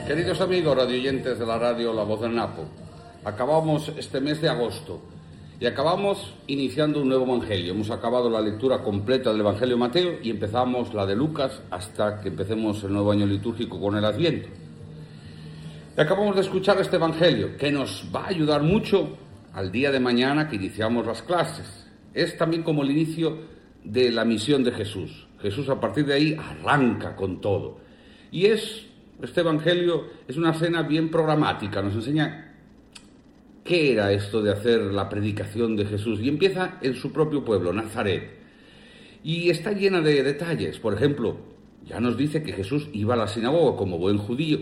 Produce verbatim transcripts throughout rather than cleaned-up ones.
Queridos amigos radioyentes de la radio La Voz del Napo, acabamos este mes de agosto y acabamos iniciando un nuevo evangelio. Hemos acabado la lectura completa del Evangelio de Mateo y empezamos la de Lucas hasta que empecemos el nuevo año litúrgico con el Adviento. Y acabamos de escuchar este Evangelio que nos va a ayudar mucho al día de mañana que iniciamos las clases. Es también como el inicio de la misión de Jesús. Jesús a partir de ahí arranca con todo. Y es, este Evangelio es una cena bien programática, nos enseña qué era esto de hacer la predicación de Jesús. Y empieza en su propio pueblo, Nazaret. Y está llena de detalles. Por ejemplo, ya nos dice que Jesús iba a la sinagoga como buen judío.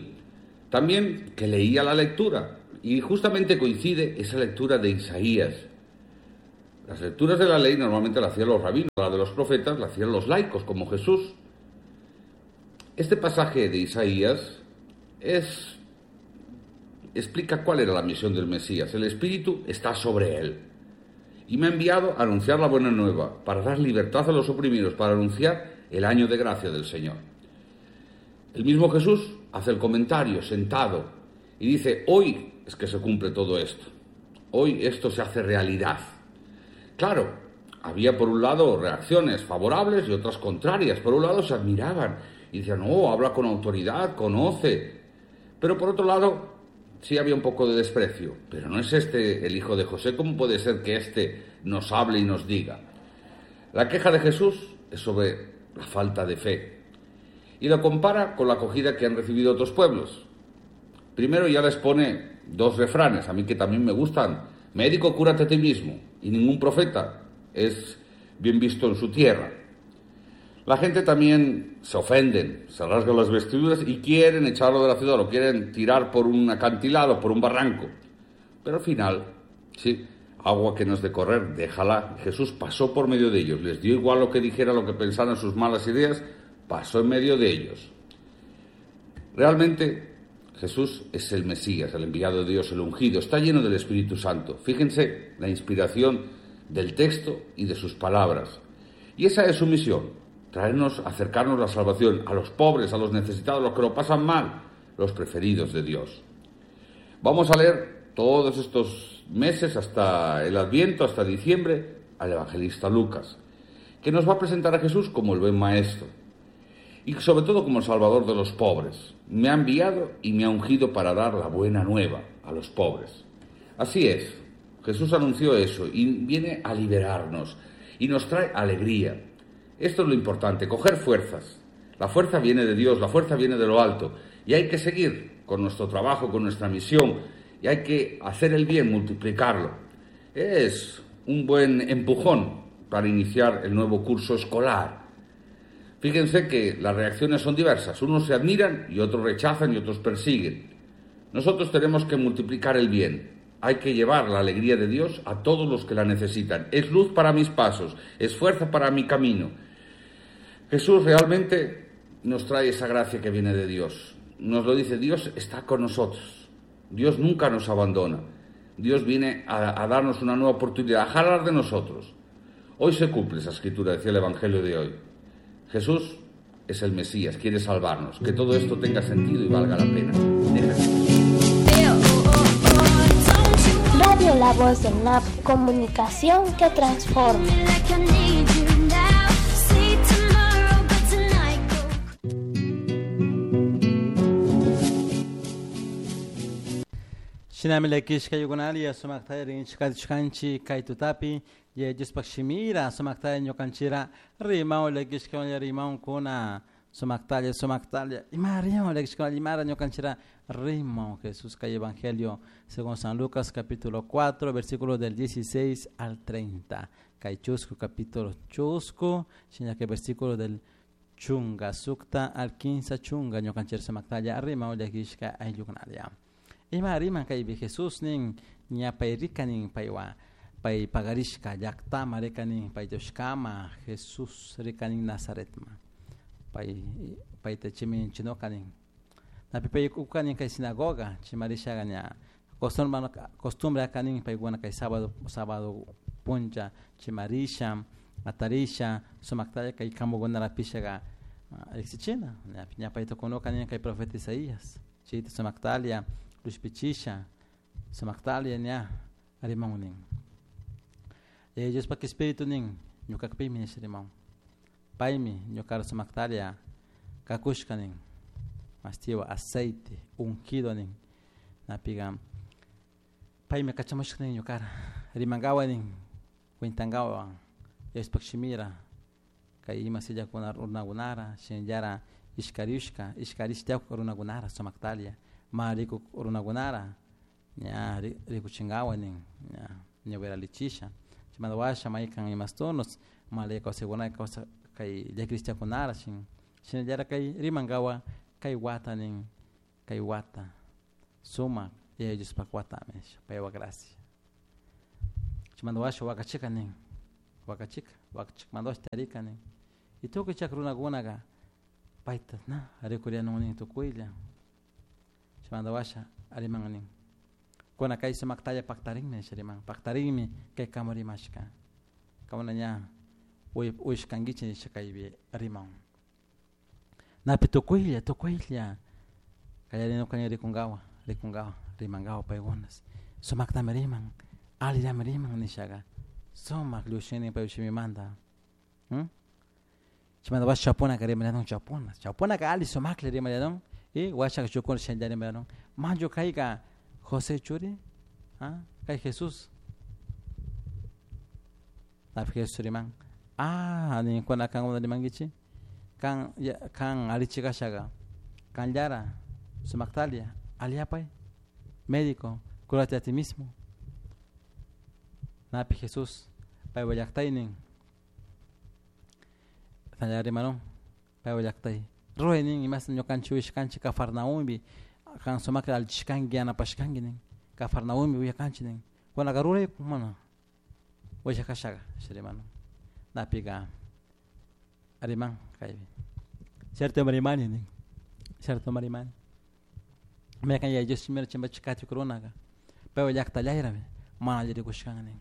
También que leía la lectura. Y justamente coincide esa lectura de Isaías. Las lecturas de la ley normalmente las hacían los rabinos, la de los profetas la hacían los laicos, como Jesús. Este pasaje de Isaías es, explica cuál era la misión del Mesías. El Espíritu está sobre él y me ha enviado a anunciar la buena nueva, para dar libertad a los oprimidos, para anunciar el año de gracia del Señor. El mismo Jesús hace el comentario sentado y dice: hoy es que se cumple todo esto, hoy esto se hace realidad. Claro, había por un lado reacciones favorables y otras contrarias. Por un lado se admiraban y decían: oh, habla con autoridad, conoce. Pero por otro lado sí había un poco de desprecio. Pero no es este el hijo de José, ¿cómo puede ser que este nos hable y nos diga? La queja de Jesús es sobre la falta de fe y lo compara con la acogida que han recibido otros pueblos. Primero ya les pone dos refranes, a mí que también me gustan: médico, cúrate a ti mismo, y ningún profeta es bien visto en su tierra. La gente también se ofenden, se rasgan las vestiduras y quieren echarlo de la ciudad, lo quieren tirar por un acantilado, por un barranco. Pero al final, sí, agua que no es de correr, déjala. Jesús pasó por medio de ellos, les dio igual lo que dijera, lo que pensaran, sus malas ideas, pasó en medio de ellos. Realmente Jesús es el Mesías, el enviado de Dios, el ungido, está lleno del Espíritu Santo. Fíjense la inspiración del texto y de sus palabras. Y esa es su misión, traernos, acercarnos la salvación a los pobres, a los necesitados, a los que lo pasan mal, los preferidos de Dios. Vamos a leer todos estos meses hasta el Adviento, hasta diciembre, al evangelista Lucas, que nos va a presentar a Jesús como el buen maestro y sobre todo como el salvador de los pobres. Me ha enviado y me ha ungido para dar la buena nueva a los pobres. Así es, Jesús anunció eso y viene a liberarnos y nos trae alegría. Esto es lo importante, coger fuerzas. La fuerza viene de Dios, la fuerza viene de lo alto y hay que seguir con nuestro trabajo, con nuestra misión, y hay que hacer el bien, multiplicarlo. Es un buen empujón para iniciar el nuevo curso escolar. Fíjense que las reacciones son diversas. Unos se admiran y otros rechazan y otros persiguen. Nosotros tenemos que multiplicar el bien. Hay que llevar la alegría de Dios a todos los que la necesitan. Es luz para mis pasos, es fuerza para mi camino. Jesús realmente nos trae esa gracia que viene de Dios. Nos lo dice, Dios está con nosotros. Dios nunca nos abandona. Dios viene a, a darnos una nueva oportunidad, a jalar de nosotros. Hoy se cumple esa escritura, decía el Evangelio de hoy. Jesús es el Mesías, quiere salvarnos. Que todo esto tenga sentido y valga la pena. Radio La Voz del N A P, comunicación que transforma. Shinami lekishka yukunalia sumaktaya rinchika chukanchi kaytutapi ye Diospaq shimira sumaktaya ñukanchira rimao lekishka rimao kuna sumaktalla sumaktalla ima rimao lekishka imara ñukanchira rimao Jesús kay Evangelio según San Lucas capítulo cuatro versículo del dieciséis al treinta kay chusco capítulo chusco shinake versículo del chunga sukta al quince chunga ñukanchira sumaktalla rimao lekishka ayllukunalia Ima riman kaypi Jesús nin ñapay rikanin paywa pay pagarishka llaqtama rikanin pay Dioskama Jesús rikanin Nazaretma pay payta chimin chinokanin napi pay ukanin kay sinagoga chimarishaga ña costumbre costumbre kanin paykuna kay sábado sábado puncha chimarisha atarisha sumaktalla kay kamukunarapishaga riqsichina ña payta kunukanin kay profeta Isaías Chayta sumaktalia lushpichisha sumaktalia ña riman nin. Yaya Diospak espíritu nin ñukakpimi nisha riman. Paymi ñukara sumaktalia kakushka nin. Mastiwa aceite ungido nin. Napiga paymi kachamushka nin ñukara rimankawa nin cuentankawa Diospak shimira kay ima sillakuna runakunara shinallara ishkarishka ishkarishtiak runakunara sumaktalia ma rikuk runakunara ña rikuchinkawa nin ña ñawiralichisha chaymanta washa maykan imastunos malaya kawsaykuna kawsa kay llakirishtiakunara shin shinallara kay rimankawa kay wata nin kay wata sumak Yaya Diospak watami nisha paywa gracia. Chaymanta washa wakachika nin wakachika wakachikmanta washa tarika nin y tukuy chak runakunaka payta na rikurianun nin tukuylla chaymanta washa riman nin kuna kay sumaktalla paktarinmi nisha riman paktarinmi kay kamu rimashka kamuna ña uyashkankichik nisha kaypi riman napi tukuylla tukuylla kallarinukani rikunkawa rikunkawa rimankawa paykunas sumaktami riman allillami riman nishaga sumak llushini pay shimimanta hmm? Chaymanta washa chawpunaka rimallanun chawpuna chawpunaka alli sumaklla rimallanun y washaka shukuna shinalla rimallanun manchu kayka José churi ah kay Jesús napi Jesús riman ah ninkuna kankuna rimankichik kan kan allichik kashaka kanllara sumaktalia alliyapay médico cúrate a ti mismo napi Jesús paywa llaktay nin shinallara rimanun paywa llaktay ruray nin imashta ñukanchik uyashkanchik Cafarnaumpi kan sumakta allichishkanki yanapashkanki nin Cafarnaumpi uyakanchik nin kunaka ruray mana uyashakashaka rimanun napika riman kaypi cierto rimani nin cierto rimani maykan Yaya Dios shimira chimpachik katik runaka paywa llaktallayrami mana alli rikushkan nin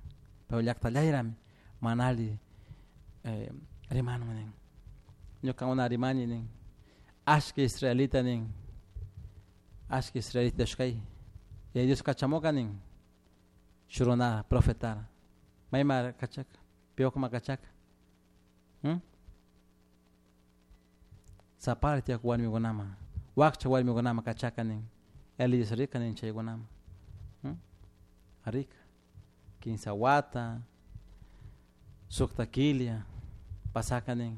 paywa llaktallayrami mana alli eh, rimanun nin ñuka una rimani nin ashka israelita nin ashka israelita shkay Yaya Dios kachamuka nin shurunara profetara mayma kachaka piwakma kachaka hmm? Sapara tiyak warmikunama wakcha warmikunama kachaka nin Elías rika nin chaykunama hmm? Rika kinsa wata sukta killa pasaka nin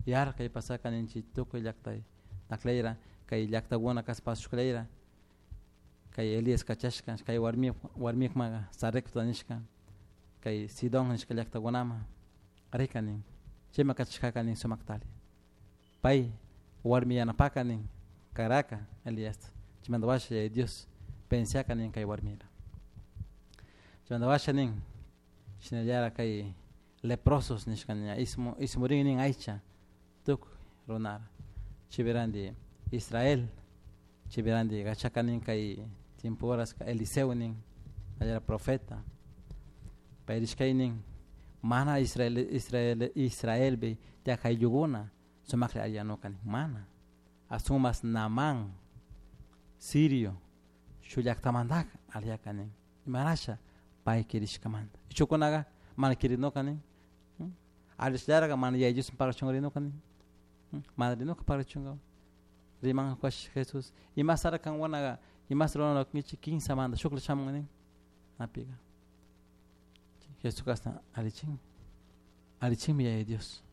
yarkay pasaka nin chay tukuy llaktay naklayra kay llaktakuna kaspashuklayra kay Elías kachashka kay warmi warmikma Sarepta nishka kay Sidón nishka llaktakunama rika nin chayma kachashkaka nin sumaktali pay warmi yanapaka nin karaka Elías chaymanta washa Yaya Dios pensiaka nin kay warmira chaymanta washa nin shinallara kay leprosos nishka ña ismu ismurin nin aycha tukuy runara chaypiranti Israel chaypiranti kachaka nin kay tiempo horas Eliseo nin allara profeta pay rishkay nin mana Israel Israel Israelpi tiyak ayllukuna sumaklla alliyanuka nin mana asumas Naamán sirio shuk llaktamantaka alliyaka nin imarasha pay kirishkamanta shukunaka mana kirinuka nin allishallaraka mana Yaya Dios parlachun nin mana rinuka parlachunka riman Jesús imasara kankunaka imasara ruranakunkichik kinsamanta shukla shamun nin napika Jesús kashna allichin allichinmi Yaya Dios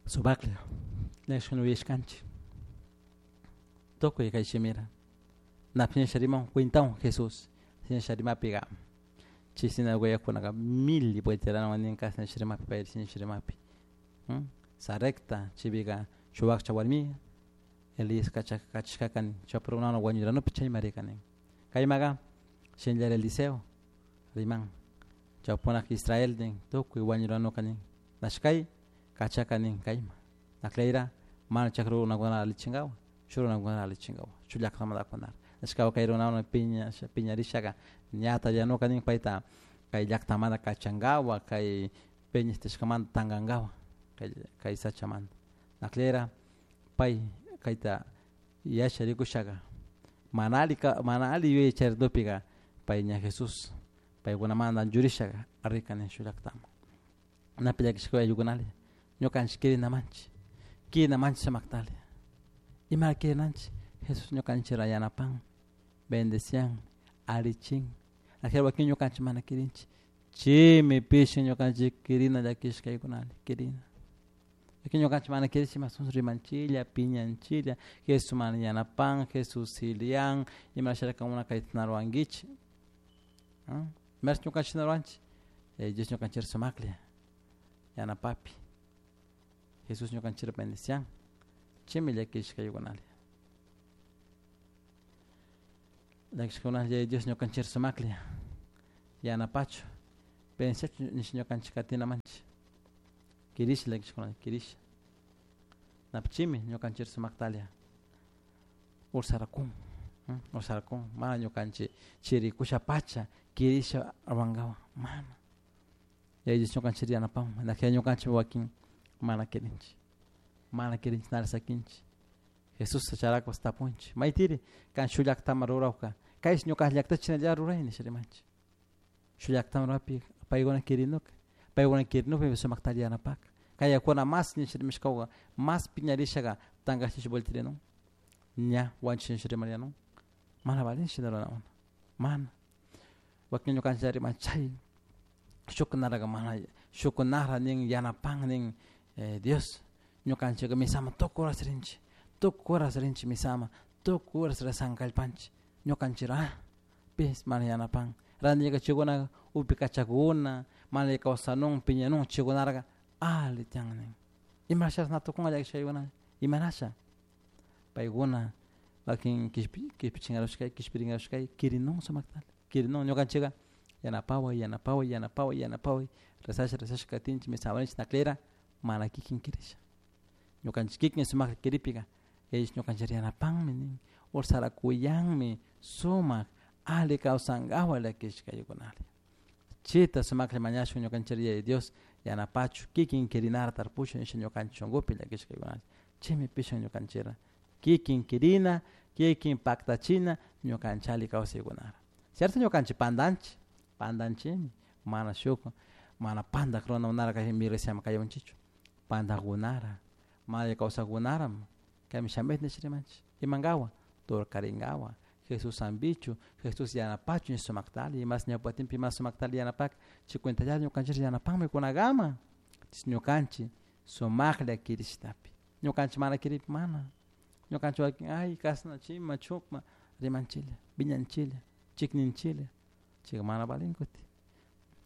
sumaklla llakishkuna uyashkanchik tukuy kay shimira napi nisha riman cuentawan Jesús shinisha rimapika chay sinagogakunaka mil vuelteranawan nin kashna nisha rimapi pay nisha rimapi Sarepta chaypika shuk wakcha warmi Elías kachashkaka nin chawpi runakuna wañuranupi chayma rika nin kaymaka shinallara Eliseo riman chawpunak Israel nin tukuy wañuranuka nin nashkay kachaka nin kayma naklayra mana chakra runakunata allichinkawa shuk runakunata allichinkawa shuk llaktamantakunata nashkawa kay runakuna piña piñarishaka ñata llanuka nin payta kay llaktamanta kachankawa kay Yasha rikushaga mana ali mana ali yuyay charidupiga pay ña Jesús paykunamanta anchurishaga rika nin shuk llaktaman napi llakishka ayllukunalla ñukanchik kirinamanchik kirinamanchik sumaktalla imara kirinanchik Jesús ñukanchikra yanapan bendecian allichin ajera wakin ñukanchik mana kirinchik chaymi pishi ñukanchik kirina llakishkaykunalla kirina wakin ñukanchik mana kirinchik mas rimanchilla piñanchilla Jesús mana yanapan Jesús silian imasharaka kankuna kayta na ruwankichik imash ñukanchik na ruwanchik Dios ñukanchik sumaklla yanapapi Jesús ñukanchik bendician chaymi llakishkaykunalla llakishkakunalla Dios ñukanchik sumaklla yanapachu bendiciachu nish ñukanchik katinamanchik kirisha llakishkunalla kirisha napichimi ñukanchik sumaktalla ursarakun ursarakun mana ñukanchik chirikusha pacha kirisha ruwankawan mana Yaya Dios ñukanchik yanapan najea ñukanchik wakin mana kirinchik mana kirinchik nara sakinchik Jesús charakush tapunchik maytiri kan shuk llaktaman rurawka kaysh ñuka llaktachi shinalla ruray nisha rimanchik shuk llaktaman rurapi paykuna kirinuka paykuna kirinukpi sumaktalla yanapaka kayakuna mas nisha rimashkawka mas piñarishaka tankachish vueltirinun ña wanchish nisha rimarianun mana valin shina ruranakuna mana wakin ñukanchik riman chay shukkunaraka mana shukkunara nin yanapan nin Dios ñukanchika misaman tukuy horas rinchik tukuy horas rinchik misaman tukuy horas rezan kallpanchik ñukanchikra pish mana yanapan randika chaykunaka upikachakuna mana kawsanun piñanun chaykunaraka alli tiyan nin imashash na tukunka llakishkaykuna imanasha paykuna wakin kishpichinkarushkay kishpirinkarushkay kirinun sumaktalla kirinun ñukanchika yanapaway yanapaway yanapaway yanapaway rezasha rezasha katinchik misaman rinchik naklera mana kikin kirisha ñukanchik kikin sumakta kiripika Yaya ñukanchik yanapanmi nin ursarakuyanmi sumak alli kawsankawan llakishkaykunalla chayta sumaklla mañashun ñukanchik Yaya Dios yanapachu kikin kirinara tarpushun nisha ñukanchik shunkupi llakishkaykunalla chaymi pishin ñukanchikra kikin kirina kikin paktachina ñukanchik alli kawsaykunara cierto ñukanchik pandanchik pandanchikmi mana shuk mana pandak runakunara kay iglesiaman kayunchikchu pandakunara mana kawsakunaram kaymi shamit nish rimanchik imankawan turkarinkawan Jesús hampichu Jesús yanapachu nish sumaktalla imas ñawpatinpi imas sumaktalla yanapaka chay cuentallata ñukanchik yanapanmi kunakama ñukanchik sumaklla kirishtapi ñukanchik mana kiripi mana ñukanchik wakin ay kashna chima chukma rimanchilla piñanchilla chikninchilla chayka mana valin kutin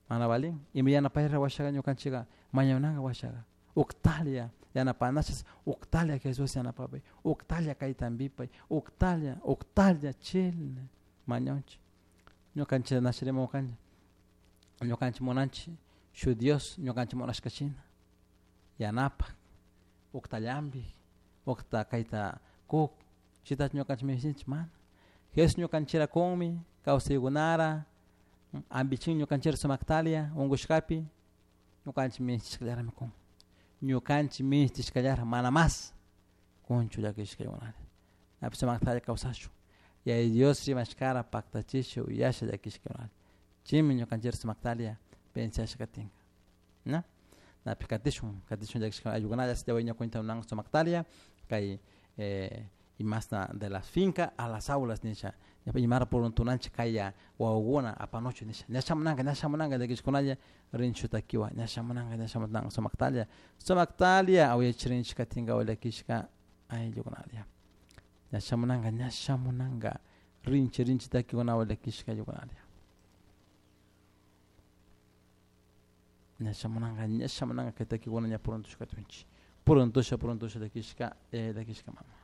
mana valin ima yanapayra washaka ñukanchika mañanaka washaka uktalla yanapanashas uktalla Jesús yanapapay uktalla kaytampipay uktalla uktalla chilna mañanchik ñukanchik nashirimunkanchik ñukanchik munanchik shuk Dios ñukanchik munashkashina yanapak uktallampi ukta kayta kuk chaytachu ñukanchik minishtinchik mana Jesús ñukanchikra kunmi kawsaykunara ampichin ñukanchikra sumaktalla unkushkapi ñukanchik minishtishkallarami kun ñukanchik minishtishkallara mana mas kunchu llakishkaykunalla napi sumaktalla kawsashun Yaya Dios rimashkara paktachisha uyasha llakishkaykunalla chaymi ñukanchikra sumaktalla pensasha katinka na napi katishun katishun llakishka ayllukunalla ña cuenta sumaktalla kay eh, imasna de la finca a las aulas nisha imara puruntunanchik kaya wawakuna apanuchu nisha ña shamunanka ña shamunanka llakishkunalla rinchu takiwan ña shamunanka ña shamunanka sumaktalla sumaktalla awiyachirinchik katinka llakishka ayllukunalla ña shamunanka ña shamunanka rinchi rinchi takikunawan llakishka ayllukunalla ña shamunanka ña shamunanka kay takikuna ña puruntushka katunchik puruntusha puruntusha llakishka llakishka mama.